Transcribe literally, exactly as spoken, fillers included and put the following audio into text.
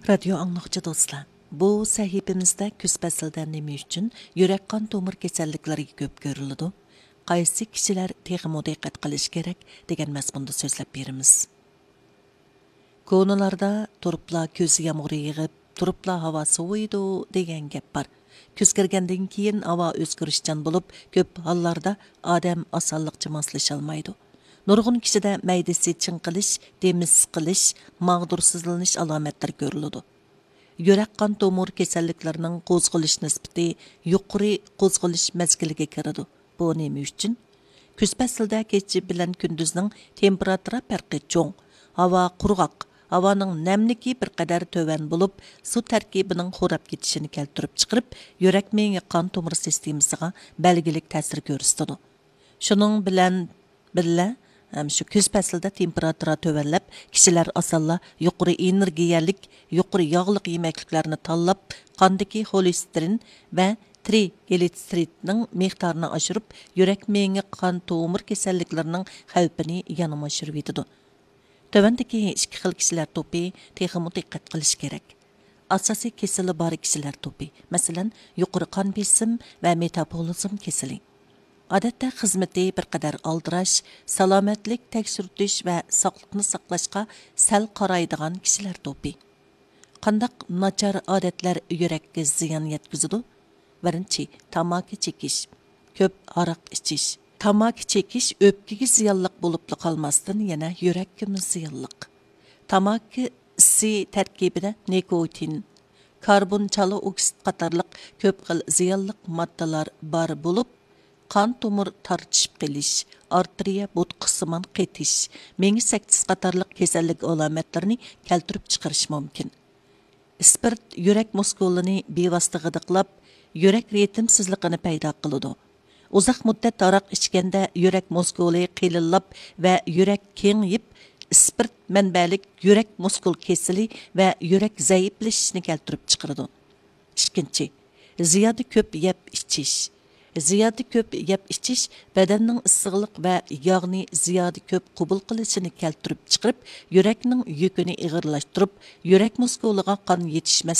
رادىيو ئاڭلىغۇچى دوستلار، بۇ سەھىپىمىزدە كۈز پەسلىدە نېمە ئۈچۈن يۈرەك قان تومۇر كېسەللىكلىرى كۆپ كۆرۈلىدۇ؟ قايسى كىشىلەر تېخىمۇ دىققەت قىلىشى كېرەك دېگەن مەزمۇندا سۆزلەپ بېرىمىز. كونىلاردا «تۇرۇپلا كۈز يامغۇرى يېغىپ، تۇرۇپلا ھاۋا سوۋۇيدۇ» دېگەن گەپ بار. كۈز كىرگەندىن كېيىن ھاۋا ئۆزگىرىشچان بولۇپ، كۆپ ھاللاردا ئادەم ئاسانلىقچە ماسلىشالمايدۇ. نۇرغۇن كىشىدە مەيدىسى چىڭقىلىش، دېمى سىقىلىش، ماغدۇرسىزلىنىش ئالامەتلىرى كۆرۈلىدۇ. يۈرەك قان تومۇر كېسەللىكلىرىنىڭ قوزغىلىش نىسبىتى يۇقىرى قوزغىلىش مەزگىلىگە كىرىدۇ. بۇ نېمە ئۈچۈن؟ كۈز پەسلىدە كېچە بىلەن كۈندۈزنىڭ تېمپېراتۇرا پەرقى چوڭ، ھاۋا قۇرغاق، ھاۋانىڭ نەملىكى بىر قەدەر تۆۋەن بولۇپ، سۇ تەركىبىنىڭ خوراپ كېتىشىنى كەلتۈرۈپ چىقىرىپ، يۈرەك مېڭە قان تومۇر سىستېمىسىغا بەلگىلىك تەسىر كۆرسىتىدۇ. شۇنىڭ بىلەن بىللە، ھەم شۇ كۈز پەسلىدە تېمپېراتۇرا تۆۋەنلەپ، كىشىلەر ئاسانلا يۇقىرى ئېنېرگىيەلىك، يۇقىرى ياغلىق يېمەكلىكلەرنى تاللاپ، قاندىكى خولېستېرىن ۋە ترىگلىتسېرىدنىڭ مىقدارىنى ئاشۇرۇپ، يۈرەك مېڭە قان تومۇر كېسەللىكلىرىنىڭ خەۋپىنى يەنىمۇ ئاشۇرۇۋېتىدۇ. تۆۋەندىكى ئىككى خىل كىشىلەر توپى تېخىمۇ دىققەت قىلىش كېرەك. ئاساسىي كېسىلى بار كىشىلەر توپى، مەسىلەن، يۇقىرى قان بېسىم ۋە مېتابولىزم كېسىلى. ئادەتتە خىزمىتى بىر قەدەر ئالدىراش، سالامەتلىك تەكشۈرتۈش ۋە ساقلىقنى ساقلاشقا سەل قارايدىغان كىشىلەر توپى. قانداق ناچار ئادەتلەر يۈرەككە زىيان يەتكۈزىدۇ؟ بىرىنچى، تاماكا چېكىش، كۆپ ھاراق ئىچىش. تاماكا چېكىش ئۆپكىگە زىيانلىق بولۇپلا قالماستىن، يەنە يۈرەككىمۇ زىيانلىق. تاماكا ئىسى تەركىبىدە نىكوتىن، كاربون چالا ئوكسىد قاتارلىق كۆپ خىل زىيانلىق ماددىلار بار بولۇپ، قان تومۇر تارتىشىپ قېلىش، ئارتېرىيە بوتقىسىمان قېتىش، مېڭە سەكتىسى قاتارلىق كېسەللىك ئالامەتلىرىنى كەلتۈرۈپ چىقىرىشى مۇمكىن. ئىسپىرت يۈرەك مۇسكۇلىنى بىۋاسىتە غىدىقلاپ، يۈرەك رىتىمسىزلىقىنى پەيدا قىلىدۇ. ئۇزاق مۇددەت ھاراق ئىچكەندە يۈرەك مۇسكۇلى قېلىنلاپ ۋە يۈرەك كېڭىيىپ، ئىسپىرت مەنبەلىك يۈرەك مۇسكۇل كېسىلى ۋە يۈرەك زەئىپلىشىشنى كەلتۈرۈپ چىقىرىدۇ. ئىككىنچى، زىيادە كۆپ يەپ ئىچىش. زىيادە كۆپ يەپ ئىچىش بەدەننىڭ ئىسسىقلىق ۋە ياغنى زىيادە كۆپ قوبۇل قىلىشىنى كەلتۈرۈپ چىقىرىپ، يۈرەكنىڭ يۈكىنى ئېغىرلاشتۇرۇپ، يۈرەك مۇسكۇلىغا قان يېتىشمەس